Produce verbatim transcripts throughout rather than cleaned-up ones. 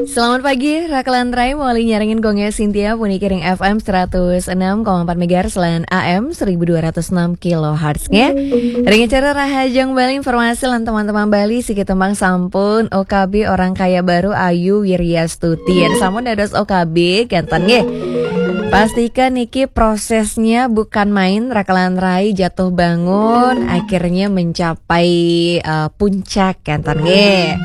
Selamat pagi, Rakelan Rai, mawali nyarengin Gong Cynthia, puniki ring F M seratus enam koma empat megahertz lan A M seribu dua ratus enam kilohertz nggih. Ring acara Rahajeng Bali, informasi lan teman-teman Bali, siki tembang sampun O K B, Orang Kaya Baru, Ayu Wiryastuti. Yen sampun dados O K B, kenten nggih. Pastikan niki prosesnya bukan main, Rakelan Rai jatuh bangun, akhirnya mencapai, eh, puncak, kenten nggih.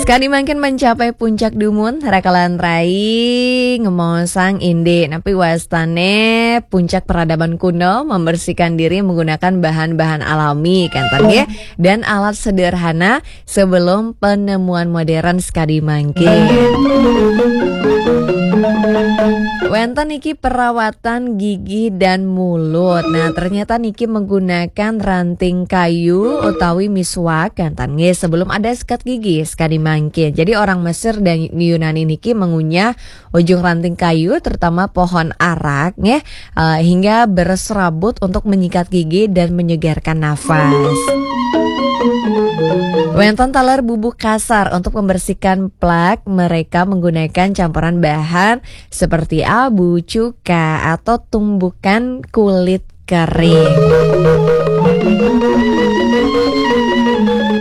Sekadi mangkin mencapai puncak dumun, Rakelan Rai ngemaosang indik napi wastane puncak peradaban kuno, membersihkan diri menggunakan bahan-bahan alami, kenten nggih, dan alat sederhana sebelum penemuan modern sekadi mangkin. Wenten niki perawatan gigi dan mulut. Nah, ternyata niki menggunakan ranting kayu utawi miswak, kenten nggih, sebelum ada sikat gigi sekadi mangkin. Jadi orang Mesir dan Yunani niki mengunyah ujung ranting kayu, terutama pohon arak nggih, eh, hingga berserabut untuk menyikat gigi dan menyegarkan nafas. Wenten taler bubuk kasar untuk membersihkan plak, mereka menggunakan campuran bahan seperti abu, cuka, atau tumbukan kulit kering.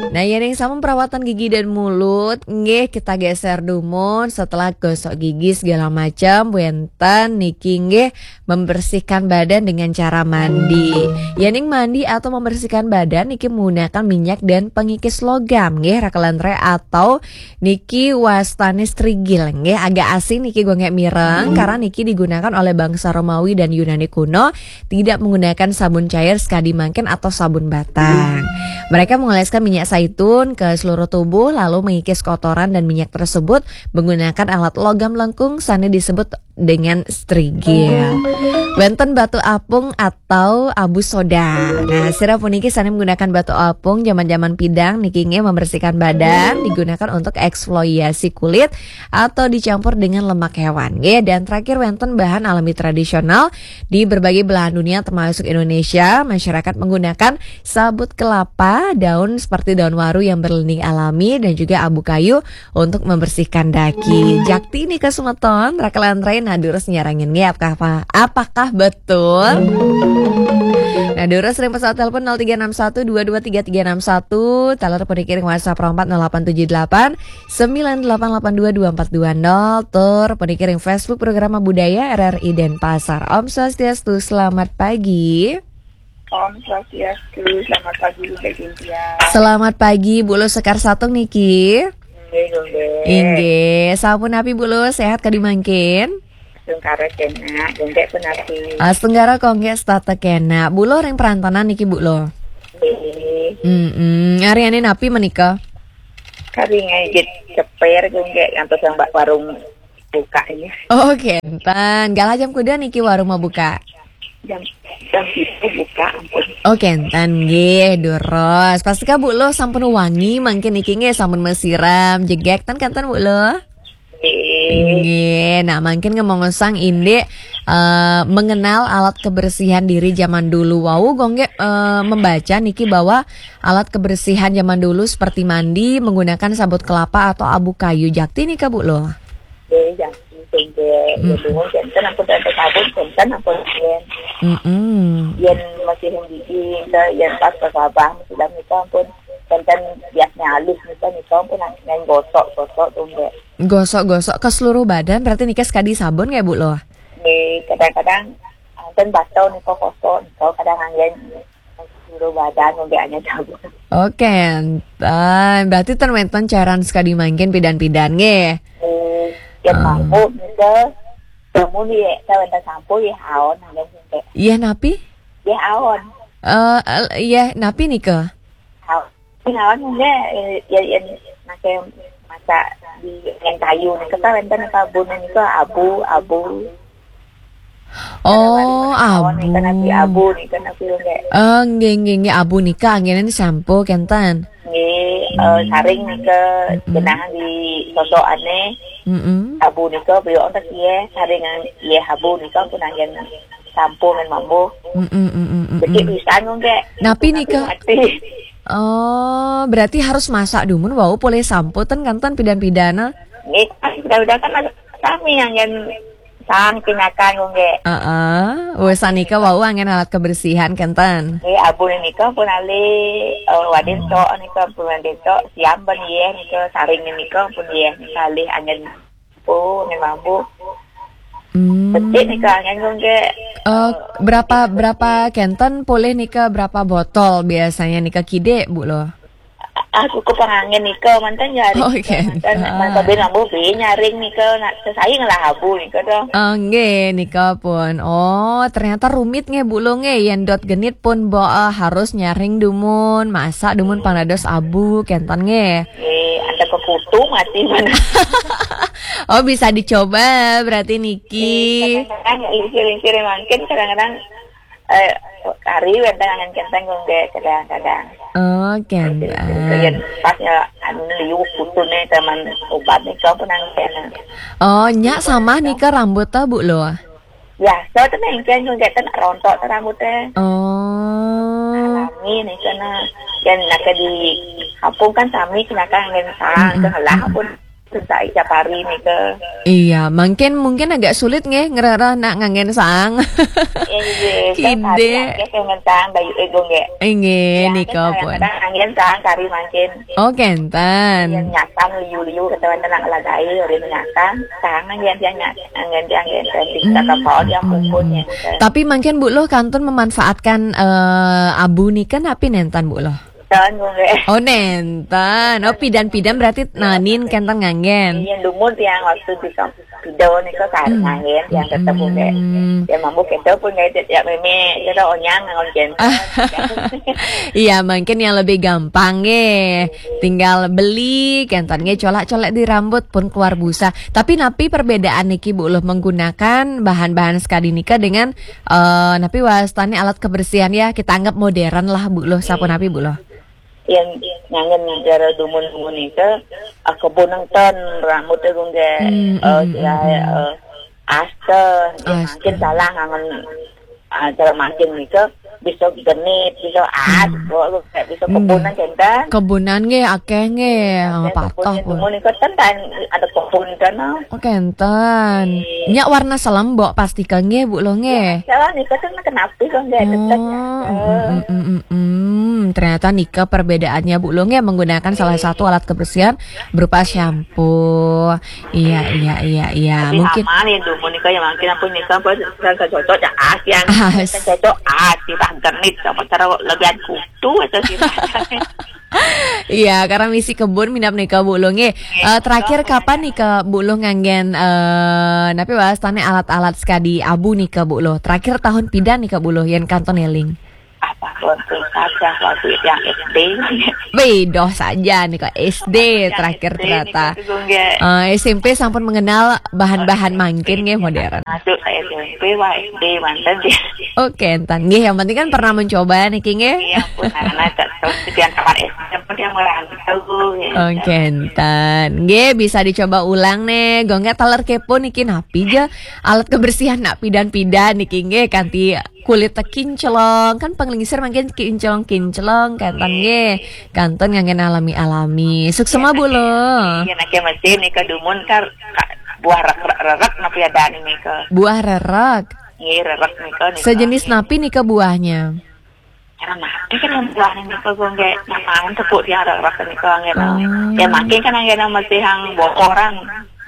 Nah, yen ing sampun perawatan gigi dan mulut, nggih, kita geser dumun setelah gosok gigi segala macam, wenten niki nggih membersihkan badan dengan cara mandi. Yen ing mandi atau membersihkan badan niki menggunakan minyak dan pengikis logam nggih, Rakelan Rai, atau niki wastane strigil nggih, agak asing niki, gue nggak mireng, karena niki digunakan oleh bangsa Romawi dan Yunani kuno, tidak menggunakan sabun cair sekadi mangkin atau sabun batang. Mereka mengoleskan minyak zaitun ke seluruh tubuh lalu mengikis kotoran dan minyak tersebut menggunakan alat logam lengkung sane disebut dengan strigil. Wenten batu apung atau abu soda. Nah, sira puniki sane menggunakan batu apung zaman-zaman pidan niki nggih membersihkan badan, digunakan untuk eksfoliasi kulit atau dicampur dengan lemak hewan nggih. Dan terakhir, wenten bahan alami tradisional di berbagai belahan dunia termasuk Indonesia, masyarakat menggunakan sabut kelapa, daun seperti daun waru yang berlinding alami, dan juga abu kayu untuk membersihkan daki. Jakti nika semeton, Rakelan Rai, nah, durus nyarengin nggih, apakah, apakah betul? Nah, durus ring pesawat telepon nol tiga enam satu dua dua tiga tiga enam satu, taler puniki ring WhatsApp empat nol delapan tujuh delapan sembilan delapan delapan dua dua empat dua nol, tur puniki ring Facebook Programa Budaya R R I Denpasar. Om Swastiastu, selamat pagi. Om Swastiastu, selamat pagi, Bunda Cynthia. Selamat pagi, Bu Luh Sekar Satung niki. Nggih, nggih. Inggih, sampun napi, Bu Luh, sehat kadi mangkin? Astungkara kenak, nggih pun napi. Astungkara kok nggih setata kenak. Bu Luh ring perantanan niki, Bu Luh. Nggih. Mm-mm. Aryane napi menika? Kari ngejit ceper, nggih, ngantos yang bak warung buka ini. Oh, kenten. Galah jam kuda niki warung mau buka? Jam, jam pitu buka, ampun. Oh, kenten nggih, durus. Pastika Bu Luh sampun wangi mangkin niki nggih, sampun mesiram, jegek ten kenten Bu Luh? Nggih. Nggih, nah mangkin ngomong sang indik, eh, mengenal alat kebersihan diri zaman dulu. Wau, gue nggih, eh, membaca niki bahwa alat kebersihan zaman dulu seperti mandi menggunakan sabut kelapa atau abu kayu. Jakti nika Bu Luh? Nggih, jakti sehingga ya dulu janten ampun tante sabun, janten ampun yen. Mm-mm. Yen masih yang gigi, yen pas ke sabah, sudah nika ampun janten biasnya halus nika, nika ampun yang gosok-gosok tuh, nggih. Gosok-gosok ke seluruh badan, berarti nika sekadi sabun nggih, Bu Luh? Nggih, kadang-kadang janten batal nika kosok, nika kadang anggen seluruh badan, nggih, hanya sabun. Oke, enten. Berarti ten wenten caran sekadi mangkin pidan-pidan nggih. Nggih, yen mampu nika, temu nih, ya, wenten sampo ya, aon, anggen sinte. Iya, napi? Ya, aon. Eh, eh, iya, napi nika? Aon. Sing awan nggih, eh, ya, yen make masak di yen kayu nika kan wenten nika abune nika abu, abu. Oh, abu. Nika napi abu nika napi nggih. Oh, nggih, nggih, nggih, abu nika anggene sampo kenten. Nggih, eh, saring nika genah di sosokane. Mm-mm. Abu nika beliau tak iye, saring iye abu nika pun anggen sampo ngan mambu. Mm, mm, mm, mm, mm, Becik mm. Pisan, Gung, Gék. Napi nika? Mati. Oh, berarti harus masak dumun wau polih sampo ten kanten pidan-pidana. Nggih, udah-udah kan ada sami anggén saang pinakan, Gung, Gék. Heeh. Wésan nika wau anggén alat kebersihan kanten. Nggih, abu nika pun alih, eh, wadin tok nika pun wadin tok, siam ban yéh nika, saring nika pun yéh nika alih anggén Oh, nggih, mambu. Hmm. Becik nika anggén, Gung, Gék. Eh, berapa, berapa kenten polih nika, berapa botol biasanya nika kidik, Bu Luh? Aku ke panganggén nika manten ya. Oh, kenten. Manten, ah. Manten bin mambu bin nyaring nika nak sesaing lah abu nika dong. Ah, nggih, nika pun. Oh, ternyata rumit nggih, Bu Luh, nggih. Yén dot genit pun bo, eh, harus nyaring dumun, masak dumun pang dados abu kenten nggih. Nggih, ada kekutu mati mana. Oh, bisa dicoba berarti niki. Kadang-kadang ya lingsir-lingsir mangkin, kadang-kadang, eh, kari wénten anggén kenten, Gung, Gék, kadang-kadang. Oh, kenten. Yen pas ya anu liu kutune teman obat nih, kau pun anggén. Oh, nyak samah nika rambut ta, Bu Luh? Biasa tuh nengken, Gung, Gék, ten rontok tuh rambutnya. Oh. Alami nih, karena yang nak di kampung kan sami, kena kan anggén saang, hmm, ke helah pun susah tiap hari nih ke. Iya, mungkin, mungkin agak sulit nggih ngerereh nak nganggén saang. Iya, iya. Kide. Kan hari akeh nganggén saang, bayu, eh, Gung, Gék. Inggih, ya, nika pun. Kadang-kadang anggén saang kari mangkin. Oh, kenten. Yang nyasam liu-liu kata wénten nak lagai, urin nyasam, saang anggén tiang nyasam, anggén tiang anggén tiang di kata paon yang puputnya. Tapi mungkin Bu Luh kantun memanfaatkan, eh, abu nika napi nenten, Bu Luh? Ten, Gung, Gék. Oh, nenten. Oh, pidan-pidan berarti nanin kenten nganggén. Iya, dumun tiang waktu di kamp-, pido nika kan nganggén tiang tetep, Gung, Gék. Ya mambu kita pun kayak ya meme, kita onyang nganggén. Iya, mungkin yang lebih gampang nggih. Tinggal beli kenten nggih, colak-colak di rambut pun keluar busa. Tapi napi perbedaan niki, Bu Luh, menggunakan bahan-bahan sekadi nika dengan, eh, napi wastane alat kebersihan ya, kita anggap modern lah, Bu Luh, sapunapi, Bu Luh? Yang nganggén negara dumun-dumun nika, ah, kebun nenten rambut, Gung, Gék. Hmm, eh, hmm, ya, hmm, eh, aste, ya, aste. Mungkin salah nganggén, ah, cara mangkin nika bisa genit, bisa as, hmm, bisa kebun nggih. Kenten. Kebunan nggih akeh nggih. Akeh pun. Dumun nika ten ada kebun kana. Oh, kenten. Nggih. Nyak warna selem, Bu, pasti ka nggih, Bu Luh, nggih. Ya, salah nika ten kenapa kok nggak tetep ya. Oh, mm, mm, mm, mm, mm. Ternyata nika perbedaannya, Bu Luh, nggih, menggunakan salah satu alat kebersihan berupa shampoo. Iya, iya, iya, iya. Tapi mungkin aman ya, dumun nika ya, mungkin ampun nika apa, kan cocok ya, as yang as. Kan cocok as, kita genit sama cara lebihan kutu atau sih. Iya, karena misi kebun minap nika, Bu Luh, nggih. Nggih, eh, terakhir betul. Kapan nika, Bu Luh, nganggén, eh, napi wastane alat-alat sekadi abu nika, Bu Luh? Terakhir tahun pidan nika, Bu Luh, yen kantun eling? Apa, waktu saja, waktu yang S D. Wih, doh saja nih kok S D. Waktu yang terakhir S D ternyata. Nih, Kak Gung, nggih. Eh, S M P sampun mengenal bahan-bahan mangkin nggih modern. Masuk ke S M P, wah, S D manten dia. Oke, entan nggih, yang penting kan pernah mencoba niki nggih. Iya, pun anak tak tahu sekian kamar S D, yang penting merantau, ya. Oke, entan. Nggih, bisa dicoba ulang nih. Gung, nggih, taler kepo niki napi ja alat kebersihan nak pidan-pidan niki nggih, kanti kulit teh kinclong, kan panglingsir mangkin kinclong-kinclong, kenten nggih. Kantun nganggén alami-alami. Suksma, Bu Luh. Iya, nak mesin nika dumun kar, ka-, buah rerek, rerek napi ada nika. Buah rerek. Nggih, rerek nika, nika. Sejenis napi nika buahnya? Cara napi kan buah nika, Gung, nggih. Namain tepuk dia rerek nika, nggih. Oh. Ya, mangkin kan nggih mesti yang bokoran.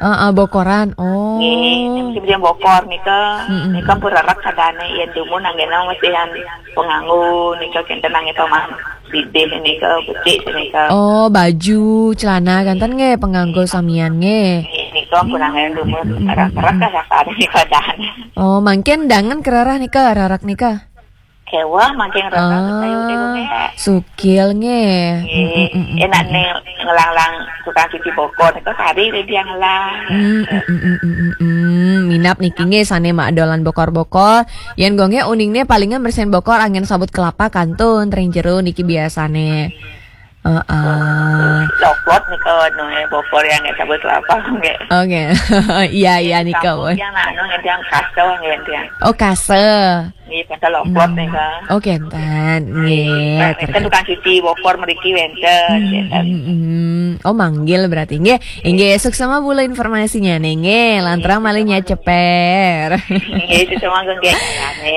Heeh, bokoran. Oh. Nggih, musim-musim bokor nika, mm-mm, nika pun rerek kadane, yen dumun anggena mesti yang penganggo nika kenten anggeta mah bidih nika, becik nika. Oh, baju, celana kenten nggih penganggo samian nggih. Nggih, nika pun anggena dumun, mm-mm, rerek-rerek kasar nika dan. Oh, mangkin dangan kerereh nika, rerek nika. Kewah mangkin rasa kayu nika, nggih. Sukil nggih. Nggih. Mm, mm, mm, mm, enak mm. Nih ngelanglang tukang cuci bokor nika kari dia ngelang. Mm, mm, mm, mm, mm, mm, mm. Minap niki nggih sane mak dolan bokor-bokor. Yen gonge uningne palingan bersihin bokor angen sabut kelapa kantun tering jero niki biasane. Heeh. Lopot nih kawan, no, eh, bokor yang nggak sabut kelapa, nggak. Oke. Iya, iya, nih, kawan. Yang anu, nggak yang kaso, nggak yang. Oh, kaso. Iya, pada lopot nih, Kak. Oh, kenten. Nggih, kan tukang cuci bokor mriki wenten, hmm, wenten. Hmm, hmm. Oh, manggil berarti. Nggih, nggih, suksma Bu lo informasinya nih. Nggih, lantaran malih nyaceper. Nggih, suksma nggih.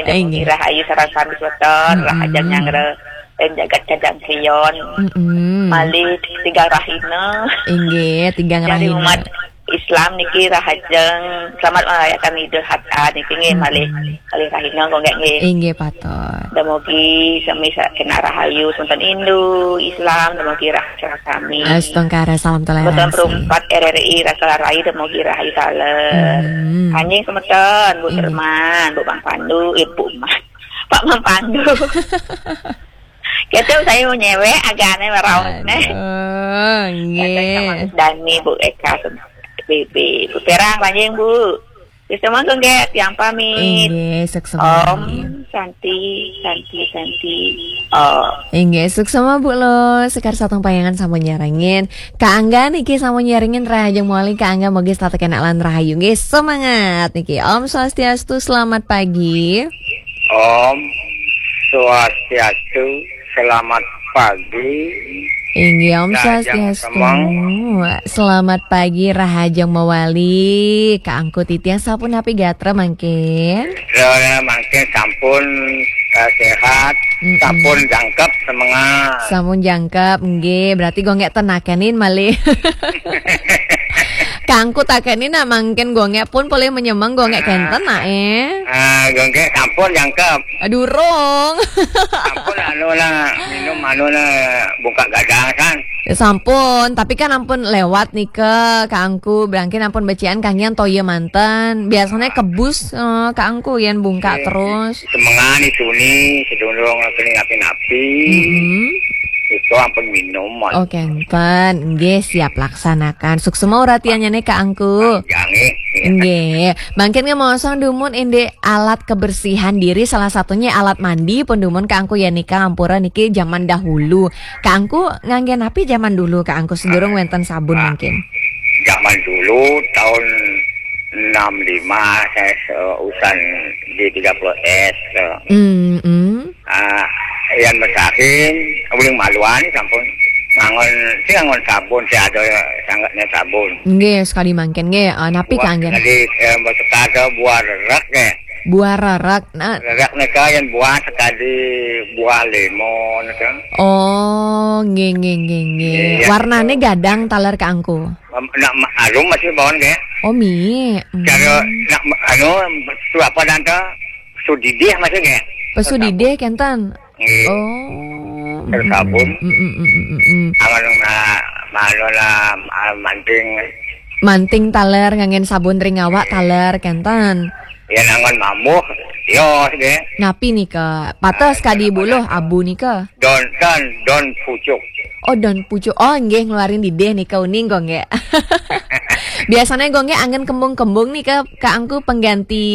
Nggih, nggih. Rahayu sareng sami semeton, hmm, rahajeng nyanggra, eh, jagat Cajang Kriyon. Hmm. Malih tigang rahina. Inggih, tigang rahina. Dari umat Islam niki rahajeng selamat merayakan Idul Adha niki nggih, hmm, malih, malih rahina kok nggih, nggih. Inggih, patut. Dumugi sami sa-, kena rahayu semeton Hindu, Islam, dumugi rahayu sami. Astungkara, salam toleransi. Semeton perumpat R R I Raka Rai, dumugi rahayu taler. Hmm. Anjing semeton, Bu, inggih. Derman, Bu Bang Pandu, eh, Bu Mas. Pak Bang Pandu. Gitu, saya mau nyewek, agak aneh, maraos, neh. Aduh, nggih. Kata sama Dani, Bu Eka, B B, Bu Perang, panjang, Bu. Wis, monggo nggih, tiang pamit. Inggih, suksma. Om Santi, Santi, Santi, Om. Inggih, suksma Bu lo, sekar sateng payangan sampun nyarengin. Kak Angga niki sampun nyarengin, rahajeng mawali Kak Angga, mugi tetep kenak lan rahayu. Nggih, semangat niki. Om Swastiastu, selamat pagi. Om Swastiastu, selamat pagi. Inggih, Om Swastiastu. Selamat pagi, rahajeng mawali. Kak Angku titiang sampun napi gatra mangkin? Gatra mangkin sampun, eh, sehat, mm-mm, sampun jangkep, semangat. Sampun jangkep, nggih. Berarti gue nggak tenakenin malih. Kak Angku takenin nak mangkin gue nggak pun boleh menyemang gue nggak kenten nak, eh. Ah, gue nggak sampun jangkep. Aduh, rong. Sampun anu lah, minum anu lah, bungkak gadang kan. Ya sampun, tapi kan ampun lewat nih ke Kak Angku, berangkin ampun becian kangian toya manten. Biasanya kebus, eh, Kak Angku yang bungkak terus. Semengan itu nih, sedulur kena napi-napi. Mm-mm. Itu ampun minum, Mon. Oke, enten. Nggih, siap laksanakan. Suksma uratiannya nih, Kak Angku. Panjang, eh. Nggih. Mangkin nggih mosong dumun indik alat kebersihan diri, salah satunya alat mandi pun dumun Kak Angku ya nika, ampura niki zaman dahulu. Kak Angku ngangge napi zaman dulu, Kak Angku, sedurung wenten sabun mungkin? Zaman dulu tahun enam lima saya se-, usan di tiga puluh S, eh. Hmm, hmm. Ah, yang besahin, uling maluan sampun ngangon, si ngangon sabun, si ada sangatnya sabun. Nggih, sekali mangkin nggih, ah, napi kanggen? Jadi, eh, besekar buah rerak nggih. Buah rerak. Nah. Rerak nika yang buah sekali buah lemon nika. Oh, nggih, nggih, nggih, nggih. Iya. Warnane gadang taler Kak Angku? Em, nak ma-, arum masih bawon nggih. Oh, mi. Hmm. Cara nak ma-, anu, tu apa dan ta? Sudidih masih nggih. Pesudidih kenten. Nggih. Oh. Tersabun. Mm, mm, mm, mm, mm, mm. Awan na, mano na, ah, manting. Manting taler nganggen sabun ring awak taler kenten. Ya, nangon mamuh. Yo, deh. Napi nika? Patah sekali buluh abu nika. Don, don, don pucuk. Oh, don pucuk. Oh, nggih, ngeluarin didih nika uning, Gong, nggih. Biasanya, Gong, nggih, anggen kembung-kembung nika, Kak Angku pengganti